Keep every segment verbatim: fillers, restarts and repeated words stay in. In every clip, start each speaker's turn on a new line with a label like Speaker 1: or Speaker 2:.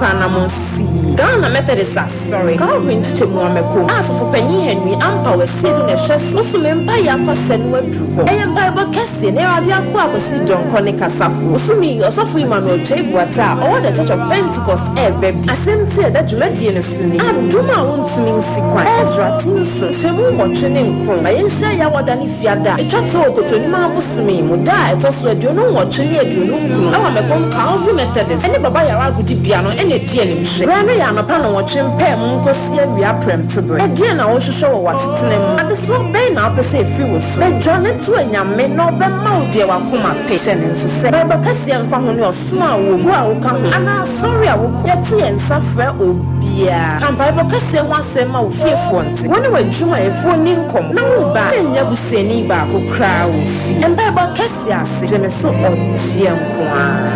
Speaker 1: Anamɔ sii Ghana Methodist Asɔre Calvary nkyekyɛmu Amɛko a asɔfopanyin Henry Ampa Wasiedu na ɛhwɛ so. Bosome mpaeɛ afahyɛ no aduru hɔ. Ɛyɛ mpaebɔ kɛseɛ na Awurade ako Akwasi Dɔnkɔ ne kasafo. Bosome yi, Ɔsɔfo Emmanuel Kyei Boateng a ɔwɔ The Church of Pentecost ɛreba bi. Asɛm ti a ɛda dwumadie no so ni: Adom a Wontumi Nsi Kwan. Ezra ti nson, kyɛmu nwɔtwe ne nkron. Ma yɛnhyia Yawɔda ne Fiada a ɛtwa toɔ wɔ Kotonimaa abosome yi mu da a ɛtɔ so aduonu nwɔtwe ne aduonu nkron ɛwɔ Mɛkɔm Calvary Methodist ɛne Baba Yara Agodibea no ɛna ɛdi animhwɛ. Berɛ no yɛ anɔpa nnɔnwɔtwe mpaa mu nkɔsi awia prɛmtoberɛ. Ɛdeɛn na wohwehwɛ wɔ w'asetena mu? Adesoa bɛn na wopɛ sɛ ɛfiri wo so? Bɛdwane to Anyame na ɔbɛma wo deɛ w'akoma pɛ. Hyɛ no nso sɛ, mpaebɔ kɛseɛ mfa ho ne ɔsom a wowɔ mu, kuo a woka ho, anaa asɔre a wokɔ. Yɛto yɛn nsa frɛ obiara. Ka mpaebɔ kɛseɛ ho asɛm ma wo fiefoɔ nte. Wo ne w'adwumayɛfoɔ nni nkɔmmɔ, na wo ba nyɛ busuani baako koraa wɔ fie. Mpaebɔ kɛseɛ ase, gye me so ɔgyeɛ nko ara.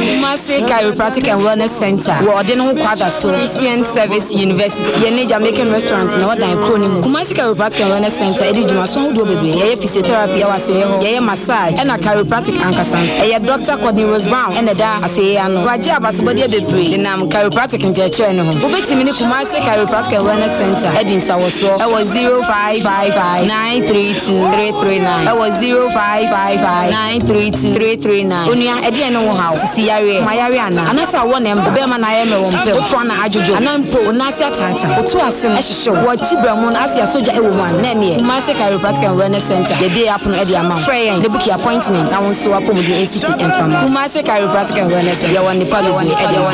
Speaker 2: Kumasi Chiropractic and Wellness Center wɔ ɔde ne ho kwada so Christian Service University yɛne Jamaican Restaurant na wɔdan kuro no mu. Kumasi Chiropractic and Wellness Center ɛdi dwumaso ahodoɔ bebree. Yɛyɛ physiotherapy ɛwɔ asoeɛ hɔ, yɛyɛ massage ɛna chiropractic ankasa nso. Ɛyɛ Doctor Courtney Rose Brown ɛna ɛda asoeɛ ano. Wagye abasobɔdeɛ bebree denam chiropractic nkyerɛkyerɛ no ho. Wobɛtumi ne Kumasi Chiropractic and Wellness Center ɛdi nsawɔsoɔ ɛwɔ zero five five five nine three two three three nine, ɛwɔ zero five five five nine three two three three nine. Onua, ɛdeɛ ne wo haw? Sisi yareɛ ma yareɛ anaa anasɛ awɔ na ɛmbɔ bɛrima na ayɛ mmerɛ wɔ mpɛ wofoa na adwodwo anaa mpo wo nan ase ataata, woto ase no ɛhyehyɛ wo, wɔakyi brɛ mu no ase asogya ɛwɔ mu a, na ɛneɛ Kumasi Chiropractic and Wellness Center yɛbie apono ɛde ama wo. Frɛ yɛn na book appointment na wo nso wapɔmuden ɛsi pi ɛmfa ma Kumasi Chiropractic and Wellness Center. Yɛwɔ nnipa bebree ɛde ma wo.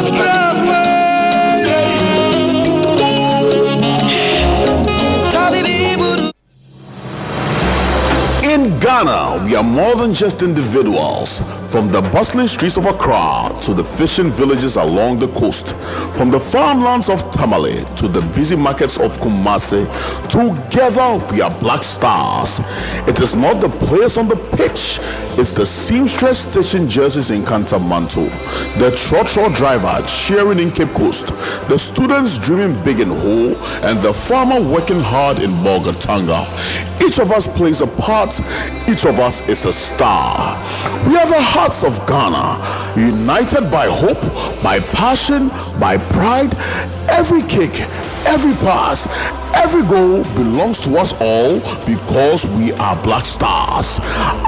Speaker 3: In Ghana, we are more than just individuals. From the bustling streets of Accra to the fishing villages along the coast, from the farmlands of Tamale to the busy markets of Kumasi, together we are Black Stars. It is not the players on the pitch, it's the seamstress stitching jerseys in Kantamanto, the trotro driver cheering in Cape Coast, the students dreaming big in Ho, and the farmer working hard in Bolgatanga. Each of us plays a part, each of us is a star. We are the hearts of Ghana, united by hope, by passion, by pride. Every kick, every pass, every goal belongs to us all because we are Black Stars.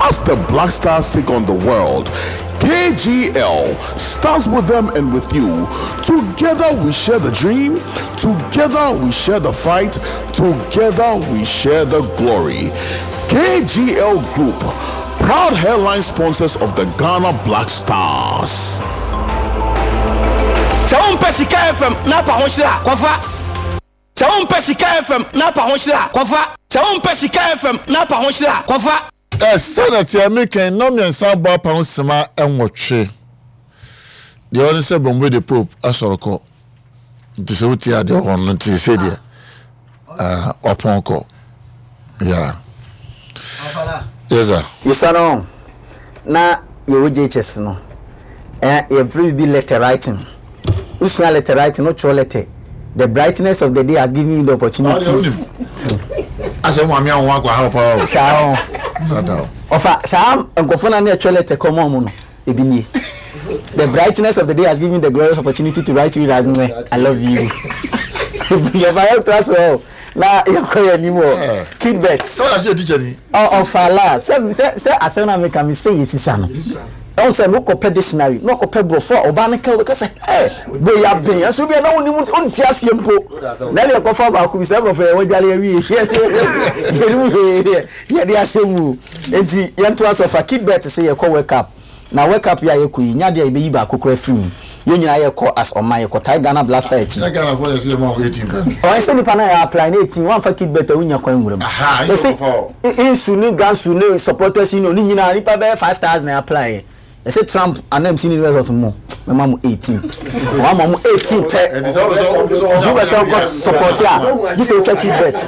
Speaker 3: As the Black Stars take on the world, K G L stands with them and with you. Together we share the dream, together we share the fight, together we share the glory. K G L Group, proud headline sponsors of the Ghana Black Stars.
Speaker 4: Sɛ wompɛ Sika F M na apa ho hyerɛ a, kɔfa. Sɛ wompɛ Sika F M na apa ho hyerɛ a, kɔfa. Sɛ wompɛ Sika F M na apa ho hyerɛ a, kɔfa.
Speaker 5: Ɛ sɛnɛ teɛ mekɛn nnɔ mmiɛnsa abɔ apa ho sema nwɔtwe deɛ ɔne sɛ Bombay de Pope asɔre kɔ, nti sɛ wotie adeɛ wɔ no nti sɛ deɛ wapɔn kɔ. Yeah, yes sir.
Speaker 6: Yɛsua no na yɛwɔ J H S no, eh, yɛfrɛ biribi letter writing. Wosua letter writing no, twerɛ letter. "The brightness of the day has given you the opportunity to"
Speaker 5: Asɛ wo maame awo akɔ ha paa o.
Speaker 6: Saa
Speaker 5: Dada o.
Speaker 6: Ɔfa saa nkɔfo na ne ɛtwerɛ letter kɔma ɔmo no ebi nie: "The brightness of the day has given you the glorious opportunity to write you that mwɛ, I love you." Yɛfa yɛ to so hɔ na yɛkɔ yɛn anim wɔ Kidbet.
Speaker 5: Sɛ wɔn ase yɛ teacher ni.
Speaker 6: Ɔfa la sɛ sɛ sɛ asɛm na meka mi sɛ yɛ sisa no, ɛwɔ sɛ no kɔpɛ dictionary na ɔkɔpɛ borɔfo a ɔbaa no ka, ɔbɛka sɛ ɛ boy aben ɛso bi a na wonim wonte aseɛ mpo na ɛdeɛ kɔfa baako bi sɛ borɔfo yɛ wɔdwale awie yɛnim hwee deɛ yɛde ahyɛ mu. Nti yɛnto aso fa Kidbet sɛ yɛkɔ World Cup na World Cup yi a yɛkɔ yi, nyadeɛ a yɛbɛyi baako kora firi mu. Yɛn nyinaa yɛkɔ as ɔman, yɛkɔ Ghana Black Star akyi.
Speaker 5: Sɛ Ghana fo yɛ sɛ yɛ ma wɔn eighteen pɛ.
Speaker 6: Ɔyɛ sɛ nipa na yɛ apply na eighteen wɔn afa Kidbet a wonya kwan nwura mu.
Speaker 5: Aha,
Speaker 6: yɛsɛ
Speaker 5: ɛyɛ ɔfa o.
Speaker 6: Nsu ne gansu ne supporters union ne nyinaa nipa bɛyɛ five thousand na apply yɛ. Yɛsɛ Trump anam si ne university mo mɛma mo eighteen, wɔn ama mo eighteen pɛ.
Speaker 5: Ɛnti sɛ ɔbɛ sɛ ɔbɛ sɛ
Speaker 6: nti wopɛ sɛ wokɔ support a, gye sɛ wotwa Kidbet.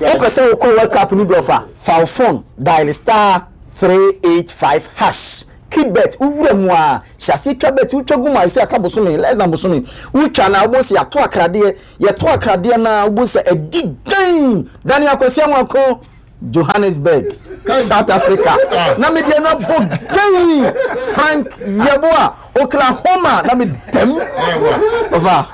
Speaker 6: Wopɛ sɛ wokɔ World Cup no bi, ɔfa fa wo phone dial star three eight five hash. Kidbet wowura mu a, hyɛ aseɛ twa bet. Wotwa gu mu a, ɛsɛ aka bosome, less than bosome wotwa na wobɔ sɛ yɛato akradeɛ. Yɛto akradeɛ na wobɔ sɛ ɛdi dan dane Akwasi Amoako Johannesburg. South Africa na me deɛ na bɔ gɛn Frank Yeboah Oklahoma na me dɛm ɔfa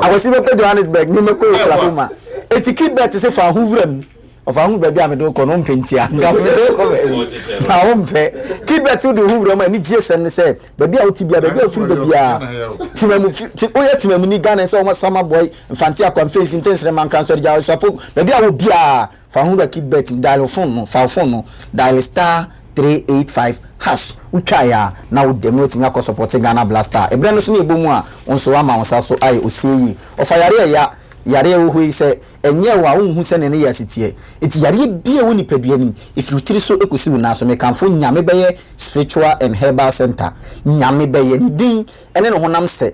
Speaker 6: akwasi bɛkɔ Johannesburg ne mɛkɔ Oklahoma eti kidbet sɛ fa ho wura mu ɔfa ho baabi a mede kɔ no mpɛ ntia nka mede kɔ baabi na wo mpɛ kidbet wode ho wura mu a ani gye sɛm ne sɛ baabi a wote bia baabi a wofiri baabi a timamu woyɛ timamu ni Ghana sɛ wɔn sama boy Mfante Akwanfensi Ntensere Mankran Sɔrigya Ɔsapo baabi a wo biara fa ho wura kidbet dial phone no fa phone no dial star three eight five hash wotwa ya na wo dɛm watumi akɔ support Ghana Blaster ɛbrɛ no so ne ɛbɔ mu a wo nso wama wo nsa so ayɛ osie yi ɔfa yare ɛya yare ɛwɔ hɔ yi sɛ ɛnyɛ wo a wonhu sɛ ne ne yɛ aseteɛ nti yareɛ bia wɔ nipadua nim ɛfiri tiri so ɛkɔsi wo nan so mekamfo Nyame Bɛyɛ Spiritual and Herbal Center. Nyame Bɛyɛ ne din ɛne ne honam sɛ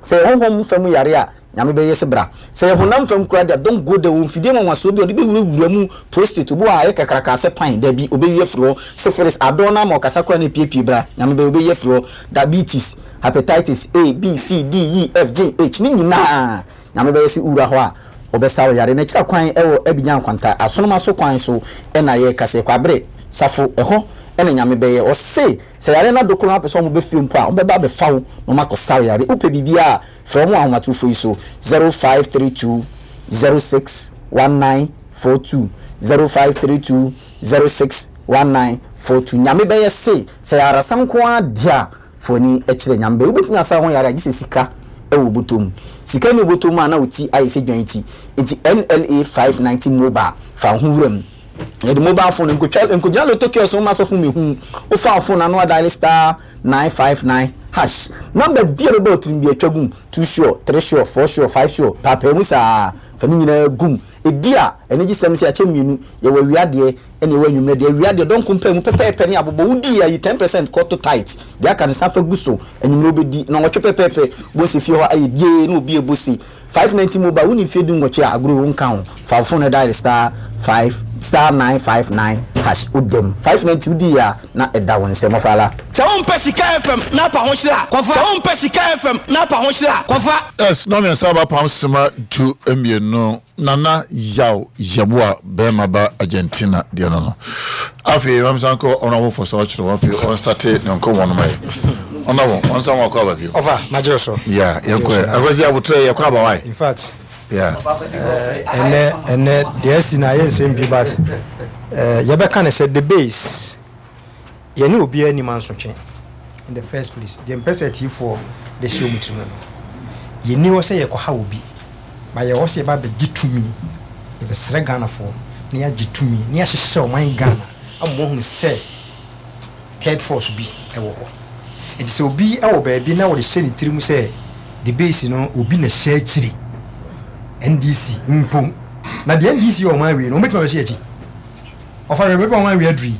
Speaker 6: sɛ honhom fam yare a Nyame Bɛyɛ sɛ bra sɛ yɛ honam fam kura deɛ don't go there. Wɔ mfidie nwanwasoɔ bi a ɔde bɛwurawura mu prostate obi wɔ a ayɛ kakraka sɛ pan dabi obɛyi afiri hɔ syphilis adɔn no ama ɔkasa kora no epiepie bra Nyame Bɛyɛ obɛyi afiri hɔ diabetes hepatitis A B C D E F G H ne nyinaa Nyame Bɛyɛ sɛ wura hɔ a ɔbɛsa wo yare na kyerɛ kwan ɛwɔ Abigyan Kwanta Asonoma so kwan so ɛna yɛ kase Kwabere Safo ɛhɔ ɛna Nyame Bɛyɛ ɔse sɛ yare na dokoro apɛ sɛ ɔmo bɛfie mpo a ɔmo bɛba abɛfa wo na ɔmo akɔsa wo yare wopɛ biribiara frɛ ɔmo ahomatorofoɔ yi so zero five three two zero six one nine four two zero five three two zero six one nine four two. Nyame Bɛyɛ se sɛ yarasa nko ara deɛ foni ɛkyerɛ Nyame Bɛyɛ wobɛtumi asa ho yare a gye sɛ sika ɛwɔ bɔtɔm sika ne bɔtɔm a na oti ayɛ sɛ dwan ti nti N L A five ninety mobile fa ho wura mu yɛde mobile phone nkotwa nkogyina lotto kiosk ma sɔfo mehu wofa phone ano adial star nine five nine hash number bi a bɛbɔ otirim bi atwa gum two sure three sure four sure five sure paapaa mu saa fa ne nyinaa gum edi a ɛne gye sɛm sɛ akyɛ mmienu yɛwɔ awia deɛ ɛne ɛwɔ anwummerɛ deɛ awia deɛ dɔnko mpaa mu pɛpɛɛpɛ ne abobɔ wodi ayi ten percent kɔto tight deɛ aka ne sa fa gu so anwummerɛ wobɛdi na wɔtwe pɛpɛɛpɛ bɔsi fie hɔ ayɛ die na obi ebo se five ninety mobile woni fie du nwɔtwe a agorɔ wo nka ho fa phone dial star five star nine five nine hash wodam five ninety wodi a na ɛda wo nsɛm ɔfala.
Speaker 4: Sɛ wompɛ Sika F M na apa ho hyerɛ a kɔfa. Sɛ wompɛ Sika F M na apa ho hyerɛ a kɔfa.
Speaker 5: Yes, na mmiɛnsa aba pam sima du mmienu Nana Yaw Yeboah bɛrima ba Argentina deɛ no no afei mamsa nkɔ ɔno fɔ sɛ ɔkyerɛ wɔn afei ɔnstate ne nkɔmmɔ no ma yɛ ɔno wɔn ɔnsa wɔn akɔ aba bio
Speaker 7: ɔfa magyere so
Speaker 5: yeah yɛnkɔ akwasi abotrɛ yɛkɔ aba wae
Speaker 7: in fact
Speaker 5: yeah
Speaker 7: ɛnɛ ɛnɛ deɛ asi na ayɛ nsɛm bi but yɛbɛka ne sɛ the base yɛne obiara anim ansotwe in the first place deɛ mpɛ sɛ atiefoɔ de hyɛ wɔn tirim no yɛni hɔ sɛ yɛkɔha obi ba yɛwɔ sɛ yɛba bɛgye tumi yɛbɛsrɛ Ghanafoɔ na yɛagye tumi na yɛahyehyɛ ɔman Ghana ama wɔahunu sɛ third force bi ɛwɔ hɔ nti sɛ obi ɛwɔ baabi na wɔde hyɛ ne tirim sɛ the base no obi na hyɛ akyiri N D C mpo na deɛ N D C yɛ ɔman awie no wɔbɛtumi abɛhyɛ akyi ɔfa yɛ bɛbɛ ɔman awie aduru yi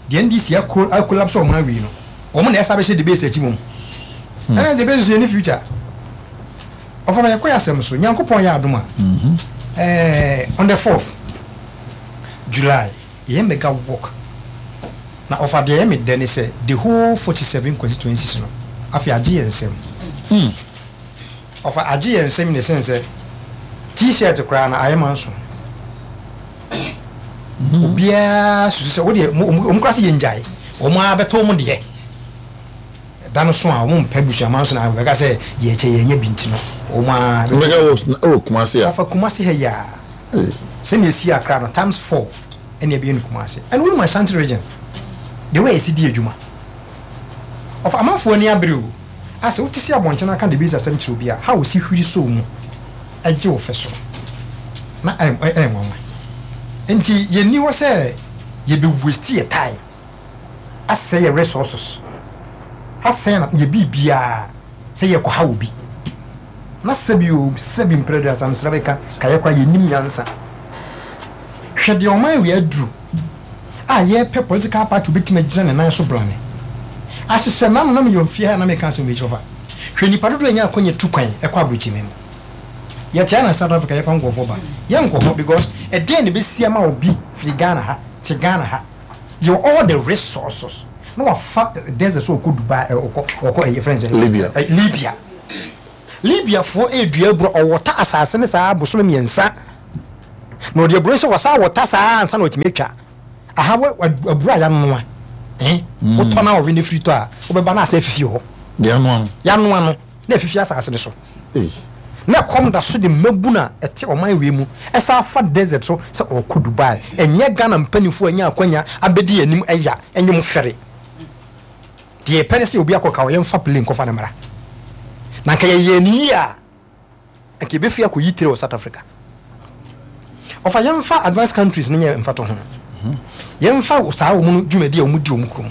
Speaker 7: deɛ N D C akolapse ɔman awie no wɔn na ɛsa bɛhyɛ the base akyi mom ɛna the base so yɛ ne future ɔfa ma yɛkɔ yɛ asɛm so Nyankopɔn yɛ adom a ɛɛ on the fourth July yɛyɛ mega walk na ɔfa deɛ ɛyɛ me dɛ ne sɛ the whole forty seven constituencies no afei agye yɛn nsɛm ɔfa agye yɛn nsɛm ne sen sɛ t-shirt koraa na ayɛ ma nso obiara susu sɛ wodeɛ ɔmo koraa sɛ yɛn gyae ɔmo abɛtɔ ɔmo deɛ da no so a ɔmo mpɛ busuama nso na bɛka sɛ yɛkyɛ yɛnyɛ bi nti no ɔmo a
Speaker 5: mega wɔ ɛwɔ Kumasi a
Speaker 7: ɔfa Kumasi ha yi a sɛnea esi Accra no times four ɛna ɛbɛyɛ no Kumasi ɛna wɔn mu Ashanti region the way esi di adwuma ɔfa amanfoɔ ani abere o asɛ wote si abɔnten aka de bi asɛm kyerɛ obi a ha osi hwiri so mu ɛgye wo fɛ so na ɛyɛ ɛyɛ nwanwa nti yɛnni hɔ sɛ yɛbɛ waste yɛ time asɛ yɛ resources asɛn na yɛ biribiara sɛ yɛkɔha obi na sɛbi o sɛbi mprɛdu asamsra bɛka ka yɛkora yɛnim nyansa hwɛ deɛ ɔman wei aduru a yɛpɛ political party obɛtumi agyina ne nan so brane ahyehyɛ nano na meyɛ mfie ha na meka asɛm wei kyerɛ fa hwɛ nipa dodoɔ anya akɔnya tu kwan ɛkɔ aburokyime no yɛte na South Africa yɛpa nkɔfoɔ ba yɛnkɔ hɔ because ɛdeɛn na ɛbɛsi ama obi firi Ghana ha te Ghana ha yɛwɔ all the resources na wafa desert so ɔkɔ Dubai ɔkɔ ɔkɔ ɛyɛ friends
Speaker 5: Libya
Speaker 7: Libya Libya foɔ edua aburo ɔwɔta asase ne saa bosome mmiɛnsa na ɔde aburo nhyɛ wɔsa wɔta saa ansa na ɔtumi atwa Aha wɔ aburo a yɛanoa, eh wotɔ na wɔwe ne firi tɔ a, wobɛba na asɛ afifi hɔ.
Speaker 5: Yɛanoa no.
Speaker 7: Yɛanoa no na afifi asase no so. Na ɛkɔm da so de mmabu na ɛte ɔman wei mu ɛsa afa desert so sɛ ɔkɔ Dubai. Ɛnyɛ Ghana mpanimfoɔ anya akwanya abɛdi anim, ɛya ɛnyɛ mu fɛre. Deɛ yɛpɛ ne sɛ obi akɔ ka yɛmfa plane nkɔfa no mmara, na nka yɛyɛ ne yie a, nka yɛbɛfiri akɔyi tire wɔ South Africa. Ɔfa yɛmfa advanced countries no nyɛ mfato ho, yɛmfa saa wɔn no dwumadi a wɔn di wɔn kurom.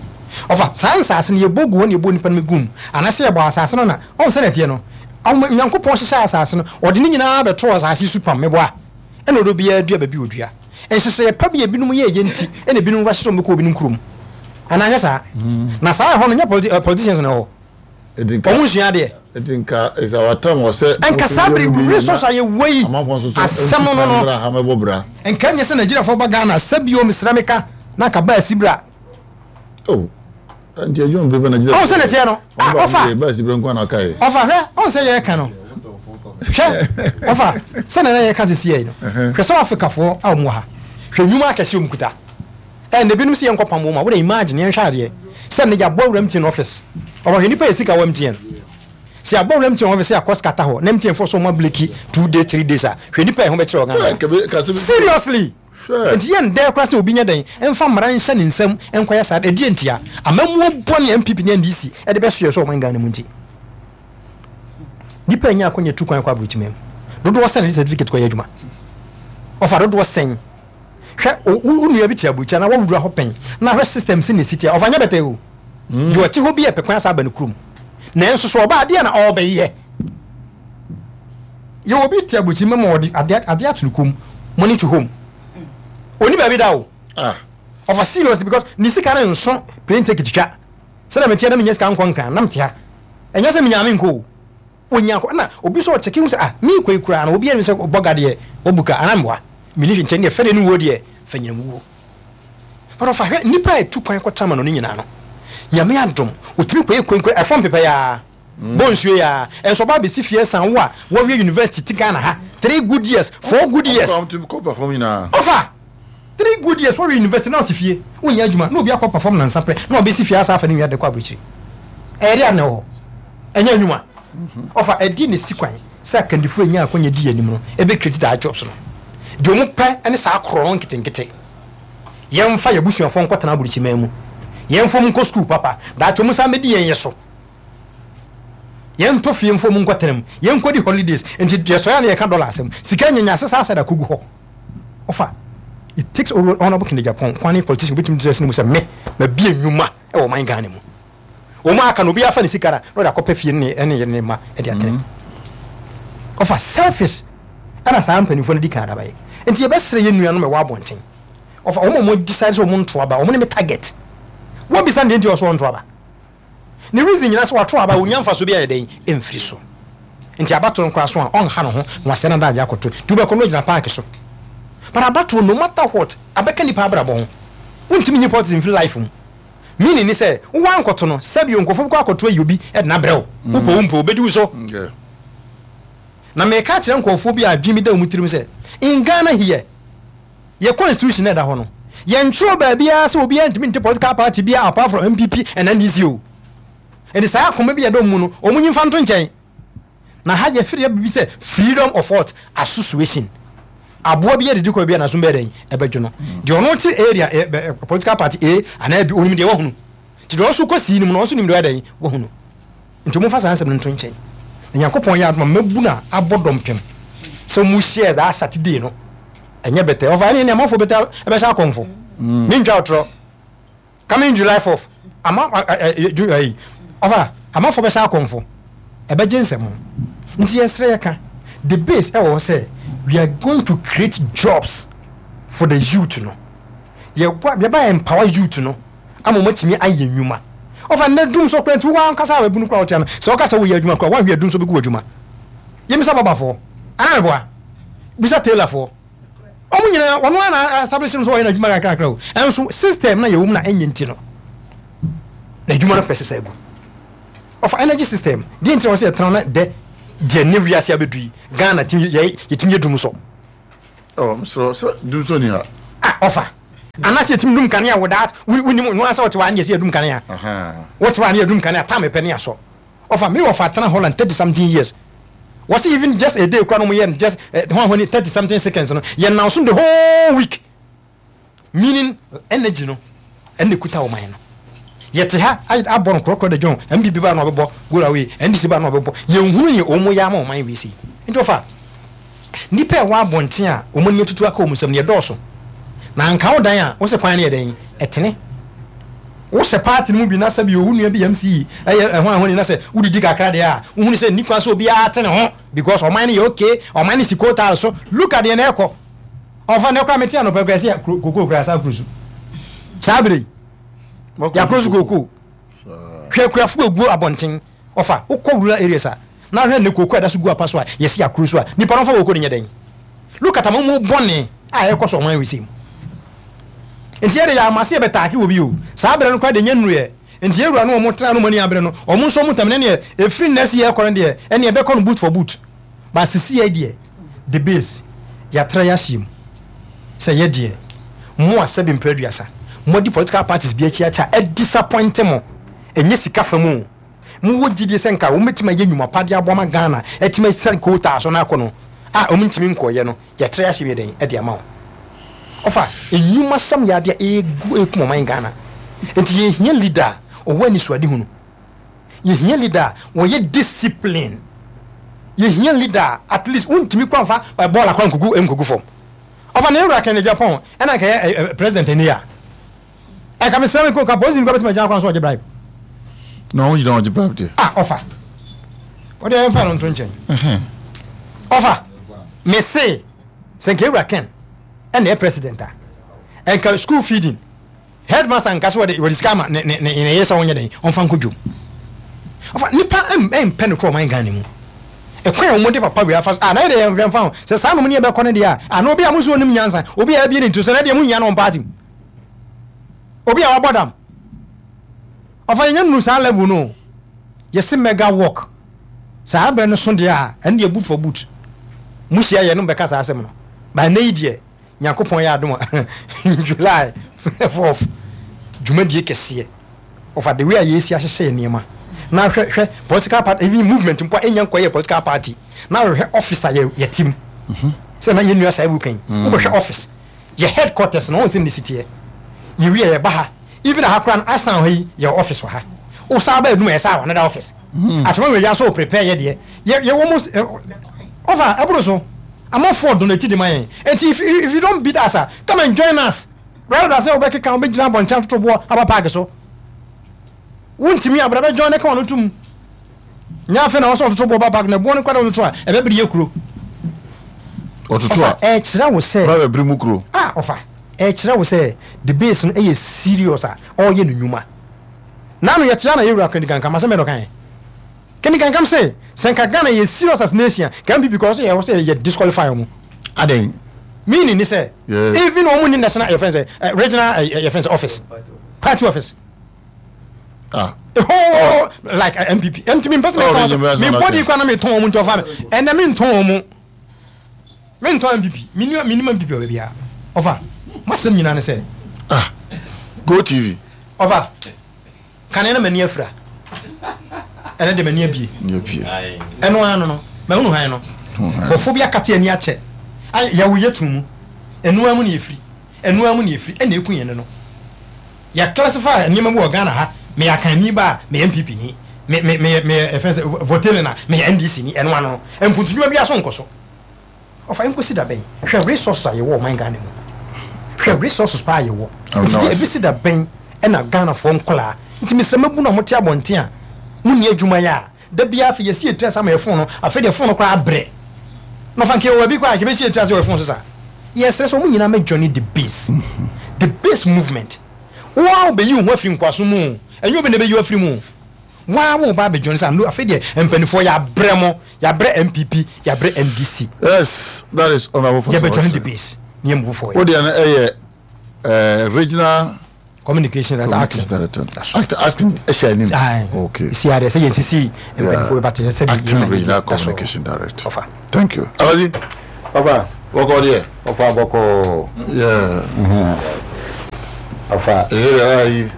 Speaker 7: Ɔfa saa nsaase no yɛbɔ gu hɔ na yɛbɔ nipa no gum anaasɛ yɛbɔ asase no na ɔn sɛ nɛteɛ no, ɔmo Nyankopɔn hyehyɛ asase no, ɔde ne nyinaa bɛto asase so pam mɛbɔ a, ɛna ɔdɔ biara dua baabi odua. Nhyehyɛeɛ pa bi a ebinom yɛ yɛ nti ɛna ebinom wura hyehyɛ wɔn bɛkɔ obinom kurom anaa nyɛ saa na saa ɛhɔ no nyɛ politi uh, politicians na ɛwɔ hɔ, wɔn nsua adeɛ.
Speaker 5: Nti nka is our time wɔ sɛ
Speaker 7: nka saa bere resource a yɛwɔ yi
Speaker 5: amanfoɔ nso so
Speaker 7: asɛm no no no
Speaker 5: ha mɛbɔ bra.
Speaker 7: Nka nyɛ sɛ Nigeriafoɔ ba Ghana sɛbio mesrɛ meka na nka ba asi bra.
Speaker 5: Oh, nti adwuma bi bɛ Nigeria.
Speaker 7: Ɔn sɛ nɛteɛ no, ah, ɔfa
Speaker 5: ba asi bra nkwa na aka yɛ.
Speaker 7: Ɔfa hwɛ, ɔn sɛ yɛreka no, hwɛ ɔfa sɛ na yɛka sɛ siɛ yi no, hwɛ sɛ Afrikafoɔ a wɔn wɔ ha, hwɛ nnwuma akɛse wɔn kuta. Ɛn ebinom sɛ yɛnkɔ pam wɔn a wɔde imagine yɛnhwɛ adeɛ sɛ ne yɛabɔ awura M T N office. Ɔba hwɛ nipa yɛ sika wɔ M T N sɛ yɛabɔ awura M T N office sɛ yɛakɔ scatter hɔ na M T N fo so wɔn ablocki two days, three days a, hwɛ nipa yɛ ho bɛkyerɛ wɔ Ghana. Seriously, nti yɛn dɛ koraa sɛ obi nyɛ dɛn ɛmfa mmara nhyɛ ne nsam nkɔyɛ saa. Ɛdeɛ ntia amammuo bɔne N P P ne N D C ɛde bɛsoɛ sɛ ɔman Ghana mu nti nipa nya akɔnya tu kwan kɔ aburokyima mu dodoɔ sɛn de certificate kɔyɛ adwuma. Ɔfa dodoɔ sɛn? Hwɛ, wo nua bi te aburokyia na wawura hɔ pɛn na hwɛ system sɛ na esi tia. Ɔfa nyɛ bɛtɛ o, deɛ ɔte hɔ bi yɛ pɛ kwan asa aba ne kurom, nanso so ɔba adeɛ na ɔrebɛyɛ yɛ. Obi te aburokyima ma ɔde adeɛ adeɛ ato ne kɔn money to home, oni baabi da o. Ɔfa serious because ne sika no nso plane ticket twa sɛdeɛ meteɛ na menya sika nkɔ Nkran nam te ha. Ɛnyɛ sɛ menya me nkɔ o, onya nkɔ na obi sɛ ɔkyɛke hu sɛ, ah, me kɔ yi koraa no, obi anim sɛ bɔga deɛ wabuka anaa mboa meni hwɛ nkyɛn deɛ fɛdeɛ no wuo deɛ fa nyina mu wuo. But ɔfa hwɛ nipa a ɛtu kwan kɔtama no ne nyinaa no, Nyame adom otumi kɔyɛ kwenkwen ɛfɔm pepɛ yaa bɔ nsuo yaa, ɛnso ɔba abɛsi fie san wo a wɔwie university ti Ghana ha three good years, four good years. Ɔfa three good years wɔwie university na ɔte fie wonyɛ adwuma na obi akɔ perform nansa pɛ na ɔbɛsi fie asa afa ne nua de kɔ aburokyiri. Ɛyɛ de ade na ɛwɔ hɔ ɛnyɛ adwuma. Ɔfa ɛdi ne si kwan sɛ akandifoɔ enya akɔnya di anim no ebe create that jobs no deɛ ɔmo pɛ ɛne saa korɔ no nketenkete. Yɛmfa yɛ abusuafoɔ nkɔtena aburokyiman mu, yɛmfa mu nkɔ school papa, daakye ɔmo san bɛdi yɛn yɛ so, yɛntɔ fie mfa mu nkɔtena mu, yɛnkɔdi holidays. Nti deɛ sɔyɛ a na yɛka dollar asɛm sika nyanya sesa asɛ da kogu hɔ. Ɔfa it takes Honourable Kennedy Agyapong kwan ne politician obetumi gyina sini mu sɛ me ma bie nnwuma ɛwɔ ɔman Ghana mu. Wɔn aka no, obi afa ne sika na na ɔde akɔpɛ fie ne ɛne yere ne mma ɛde atene. Ɔfa selfish ɛna saa mpanimfoɔ no di kan adaba yɛ. Nti yɛbɛsrɛ yɛn nuanom ɛwɔ abɔnten, ɔfa wɔn a wɔn decide sɛ wɔn nto aba, wɔn ne me target. Wɔn bisa ne deɛ nti ɔso wɔn nto aba, ne reason nyinaa sɛ wato aba onya nfa so bi ayɛ dɛn ɛmfiri so. Nti abatoɔ nkora so a ɔnha ne ho na wasɛ na daagye akɔto nti wobɛkɔ no gyina park so. But abatoɔ, no matter what, abɛka nipa abrabɔ ho. Wontumi nyi politics mfiri life mu, meaning ni sɛ wowɔ ankɔto no sɛbi nkurɔfoɔ bɛkɔ akɔto ayi obi ɛde n'abrɛ wo, wopɔ wo mpɔ obɛdi wo so. Na meka kyerɛ nkurɔfoɔ bi a adwene bi da wɔn tirim sɛ in Ghana here, yɛ constitution na ɛda hɔ no, yɛntwerɛ baabiara sɛ obiara ntumi nte political party biara apart from N P P and N D C o. Ɛnti saa akoma bi a ɛda mu no, wɔn nyi nfa nto nkyɛn na ha yɛfiri yɛ bibi sɛ freedom of what? Association. Aboa bi yɛ didi kɔ bi a n'aso bɛyɛ dɛn ɛbɛdwo no. Deɛ ɔno te area ɛ ɛ political party A anaa B, onim deɛ wahunu, nti deɛ ɔnso kɔ sii no mu no, ɔnso nim deɛ ɔyɛ dɛn wahunu. Nti wɔn fa saa nsɛm no nto nkyɛn na Nyankopɔn yɛ adoma mɛbu na abɔ dɔmpem sɛ wɔn hyɛ saa Saturday no ɛnyɛ bɛtɛ. Ɔfa ɛne ɛne amanfoɔ bɛtɛ ɛbɛhyɛ akɔnfo ne ntwa ɔtorɔ coming July fourth ama ɛ ɛ ju ɛyi. Ɔfa amanfoɔ bɛhyɛ akɔnfo ɛbɛgye nsɛm ho. Nti yɛsrɛ, yɛka the base ɛwɔ hɔ sɛ we are going to create jobs for the youth no, yɛba yɛba empower youth no ama wɔn atumi ayɛ nnwuma. Ɔfa nnɛ dum so kora nti wɔn ankasa a wɔabunu kora wɔte ano sɛ wɔka sɛ wɔyɛ adwuma kora wɔahwɛ dum so bɛgu adwuma. Yɛmisa babafoɔ anaa meboa bisa tailorfoɔ, wɔn nyinaa wɔn ara na establish no sɛ ɔyɛ n'adwuma kakrakra o. Ɛnso system na yɛwɔ mu na ɛnyɛ nti no na adwuma no pɛ sesa agu. Ɔfa energy system deɛ nti na wɔsɛ yɛtena na dɛ deɛ ne wiase abɛdu yi, Ghana tumi yɛ yɛtumi yɛ dum so.
Speaker 5: Ɔ mesrɛ sɛ dum so ni ha.
Speaker 7: Ah, ɔfa Anaasɛ yɛtumi dum kanea without wonim no asɛ wɔte hɔ a ne yɛsɛ yɛdum kanea. Wote hɔ a ne yɛdum kanea tam pɛ ne asɔ. Ɔfa me wɔfa tena Holland thirty something years. Wɔsi even just a day kura no mo yɛ no just hɔn hɔn thirty something seconds no yɛ nan so the whole week. Meaning energy no ɛna ekuta ɔman no. Yɛte ha abɔ no korɔkorɔ de dwon N P P ba na ɔbɛbɔ go away, N D C ba na ɔbɛbɔ, yɛnhunu nea wɔn yɛ ama ɔman wei sei. Nti ɔfa nipa ɛwɔ abɔnten a wɔn ani atutu aka wɔn nsam no yɛdɔɔso na anka wo dan a wosɛ kwan no yɛ dɛn ɛtene wosɛ party no mu bi na sɛ bi owu nua bi M C ɛyɛ ɛho ahoni na sɛ wodidi kakra deɛ a, wohunu sɛ ni kwan sɛ obiara te ne ho because ɔman no yɛ okay, ɔman no si kootaal so. Look at deɛ na ɛkɔ ɔfa ne kora mete anɔpa kura sɛ koko kura saa kuro so saa bere yi yɛakoro so koko. Hwɛ akuafo egu abɔnten. Ɔfa wokɔ rural areas a na hwɛ ne koko a ɛda so gu apa so a yɛsi akoro so a nipa no fa koko no nyɛ dɛn. Look at amamu bɔne a ɛkɔ so ɔman wei mu. Nti yɛde yɛ amase yɛbɛtaake wɔ bi o saa berɛ no koraa de nyɛ nnuruyɛ. Nti yɛwura no ɔmo tena no mu ani abere no, ɔmo nso ɔmo tam ne neɛ ɛfiri nnɛ si yɛkɔ no deɛ ɛneɛ ɛbɛkɔ no boot for boot ba sisi. Yɛ deɛ the base yɛatra yɛahyɛ mu sɛ yɛ deɛ mo a sɛbi mpɛ aduasa mo di political parties bi akyi akyɛ a ɛdisappoint mo, ɛnyɛ sika fa mu o, mowɔ gyidie sɛ nka wɔmɛtumi ayɛ nnwuma pa de aboa ma Ghana ɛtumi asiane kootaa so no akɔ no a ɔmo ntumi nkɔɔyɛ no, yɛtra yɛahyɛ mu yɛ dɛn ɛde ama wo. Ɔfa nnwuma sɛm yɛ adeɛ a ɛgu ɛkum ɔman Ghana. Nti yɛhia leader a ɔwɔ anisoade hunu, yɛhia leader a wɔyɛ discipline, yɛhia leader a at least wontumi kora mfa bɔɔl akora nkogu nkogu fam. Ɔfa na ewura Kennedy Agyapong ɛna nka yɛ president ani a ɛka mesrɛ me nka polisi nkɔ bɛtumi agyina kwan so ɔgye bribe.
Speaker 5: Na ɔn gyina ɔgye bribe deɛ.
Speaker 7: Ah, ɔfa ɔde ɛmfa no nto nkyɛn. Ɔfa mese sɛ nka ewura Ken ɛna yɛ president a, ɛnka school feeding headmaster nka so wɔde wɔde sika ama ne ne ne ne yere sɛ ɔnyɛ dɛn ɔmfa nkɔ dwom. Ɔfa nipa ɛmpɛ no korɔ ɔman Ghana mu ɛkwan a wɔn de papa wei afa so a na yɛ de yɛn mfa ho sɛ saa nom ne yɛbɛkɔ no deɛ a ana obi a mo nso onim nyansa, obi a ɛbie ne ntiri so na deɛ mo nyia no wɔn party mu, obi a wabɔ dam. Ɔfa yɛn nyɛ nuru saa level no, yɛsi mega work saa abɛn no so deɛ a ɛno deɛ boot for boot mo hyia yɛ no bɛka saa asɛm no ba. Ɛnɛ yi deɛ Nyankopɔn yɛ adom a July fourth dwumadie kɛseɛ. Ɔfa the way a yɛsi ahyehyɛ yɛ nneɛma na hwɛ hwɛ political party, even movement mpo a ɛnya nkɔyɛ political party, na hwehwɛ office a yɛ yɛ team sɛ na yɛn nua saa ewu kan wobɛhwɛ office yɛ headquarters na wɔn sɛ ne si teɛ. Yɛwie yɛ ba ha, even aha koraa no Ashtown ha yi yɛ office wɔ ha. Wosan ba edum yɛ saa wɔ another office atoma wɔ yɛ so prepare yɛ deɛ yɛ yɛ almost ɔfa ɛboro so amanfoɔ donate de ma yɛn. Nti if if you don't beat us ah, come and join us rather than sɛ wobɛkeka wobɛgyina abɔnten atoto boɔ aba park so. Wontumi abra bɛ join ne ka wɔn tum nyɛ afei na wɔsɛ ɔtoto boɔ ba park na boɔ no kora de wɔtoto a ɛbɛbere yɛ kuro.
Speaker 5: Ɔtoto a
Speaker 7: ɛkyerɛ wo sɛ
Speaker 5: ba bɛbere mu kuro.
Speaker 7: Ah, ɔfa ɛkyerɛ wo sɛ the base no ɛyɛ serious a ɔreyɛ no nnwuma nanu yɛte ana yɛwura Kennedy Kankam asɛm yɛ dɔkan Kennedy Kankam sɛ sɛ nka Ghana yɛ serious as nation ka N P P kɔ sɛ yɛ sɛ yɛ disqualify wɔn.
Speaker 5: Adan?
Speaker 7: Meaning ni sɛ even wɔn ni national yɛ fɛn sɛ regional yɛ fɛn sɛ office, party office.
Speaker 5: Ah.
Speaker 7: Oh, like uh, N P P ntumi mpɛ sɛ meka so me body kora na metɔn wɔn, nti ɔfa me ɛnɛ mentɔn wɔn mu, mentɔn N P P, menim menim N P P wɔ baabi a. Ɔfa masɛm nyinaa ne sɛ
Speaker 5: Ah, Go T V.
Speaker 7: Ɔfa kane na m'ani afira, ɛnɛ de m'ani abie.
Speaker 5: Yɛ
Speaker 7: ɛno ano no mahunu han no kɔfo bi akate ani akyɛ. Ay, yɛwo yɛ tum mu ɛno mu ne yɛfiri, ɛno mu ne yɛfiri ɛna ɛku yɛn no yɛ classify nneɛma bi wɔ Ghana ha. Meyɛ akanni ba a meyɛ N P P ni, me me meyɛ meyɛ ɛfɛn sɛ Voltaian a meyɛ N D C ni. Ɛno ano no mpuntudwuma bi aso nkɔ so. Ɔfa nkosi da bɛn? Hwɛ resources a yɛwɔ ɔman Ghana mu, hwɛ resources paa yɛwɔ. Nti deɛ ebisi da bɛn ɛna Ghanafoɔ nkɔlaa? Nti mesrɛ mabu na mote abɔnten a monni adwuma yɛ a da biara afei yɛsi etiri ase ama yɛ phone no. Afei deɛ phone no koraa abrɛ na ɔfa nka yɛwɔ baabi koraa yɛbɛsi etiri ase wɔ yɛ phone so saa. Yɛsrɛ sɛ wɔn nyinaa mɛ join the base the base movement. Wɔn a wɔbɛyi wɔn ho afiri nkoaso mu, ɛnyɛ obi na ɛbɛyi wɔn afiri mu. Waa wɔn ba abɛ join sɛ afei deɛ mpanimfoɔ yɛabrɛ mo, yɛabrɛ N P P, yɛabrɛ N D C.
Speaker 5: Yes, that is Honourable
Speaker 7: Fosu. Yɛbɛ join the base ne yɛ move forward.
Speaker 5: O deɛ no ɛyɛ ɛɛ regional
Speaker 7: communication director.
Speaker 5: Communication director, acting acting ɛhyɛ anim. Okay.
Speaker 7: Si adeɛ sɛ yɛn sisi mpanimfoɔ bɛ ba te sɛ
Speaker 5: acting regional communication director.
Speaker 7: Ɔfa.
Speaker 5: Thank you. Abaji.
Speaker 6: Ɔfa.
Speaker 5: Bɔkɔ deɛ.
Speaker 6: Ɔfa bɔkɔ.
Speaker 5: Yeah.
Speaker 6: Ɔfa.
Speaker 5: Ɛyɛ dɛ ayi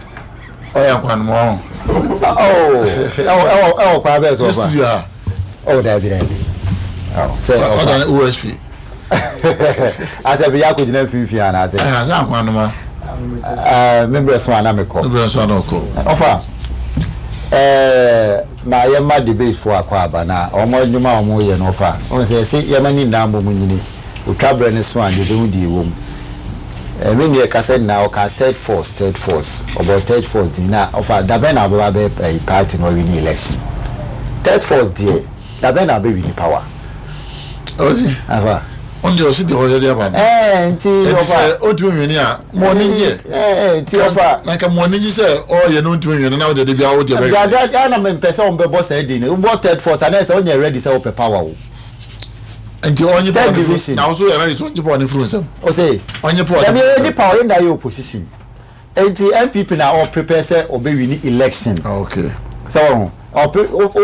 Speaker 5: ɔyɛ nkwanoma ho.
Speaker 6: Ɛwɔ ɛwɔ ɛwɔ kwan bɛɛ so
Speaker 5: ne
Speaker 6: ɔfa.
Speaker 5: Studio ha.
Speaker 6: Ɔwɔ daabi daabi ɔ sɛ
Speaker 5: ɔda
Speaker 6: ɔfa
Speaker 5: ne O S P.
Speaker 6: Asɛ bi yɛ akɔgyina mfimfini anaasɛ?
Speaker 5: Ɛyɛ sɛ nkwanoma.
Speaker 6: Ɛɛ, membrɛ so ana mekɔ.
Speaker 5: Ne bɛrɛ nso ana ɔkɔ.
Speaker 6: Ɔfa, ɛɛ, ma yɛma debate fo akɔ aba na wɔn adwuma a wɔn yɛ no, ɔfa wɔn sɛ yɛsɛ yɛma ne nyinaa mbɔ mu nyini otwa brɛ ne so a deɛ ebehu deɛ ɛwɔ mu. Ɛɛ, me nua kasa nyinaa ɔka third force, third force, ɔbɔ third force din na ɔfa dabɛn na ɔbɛba bɛ ɛyi party na ɔwi ne election. Third force deɛ, dabɛn na ɔbɛwi ne power?
Speaker 5: Ɔsi.
Speaker 6: Afa.
Speaker 5: Ɔn deɛ ɔsi deɛ ɔyɛ de aba no.
Speaker 6: Ɛɛ, nti
Speaker 5: ɛnti
Speaker 6: ɔfa
Speaker 5: sɛ ɔntumi nwene a, mo ani gye.
Speaker 6: Ɛɛ, nti ɔfa.
Speaker 5: Na nka mo ani gye sɛ ɔyɛ no ntumi nwene na ɔde de bi awo deɛ bɛyɛ.
Speaker 6: Dada dada na mempɛ sɛ wɔn bɛbɔ saa din no. Wobɔ third force anaa sɛ ɔnyɛ ready sɛ wopɛ power o.
Speaker 5: Nti ɔnye power
Speaker 6: Third
Speaker 5: ne furu
Speaker 6: division.
Speaker 5: Na ɔso yɛ ready sɛ ɔnye power ne furu nsɛm.
Speaker 6: Ɔsɛ
Speaker 5: ɔnye power.
Speaker 6: Dabi, ɛyɛ nipa ɔyɛ na yɛ opposition, nti N P P na ɔprepare sɛ ɔbɛwi ni election.
Speaker 5: Okay.
Speaker 6: Sɛ wɔn ɔpre o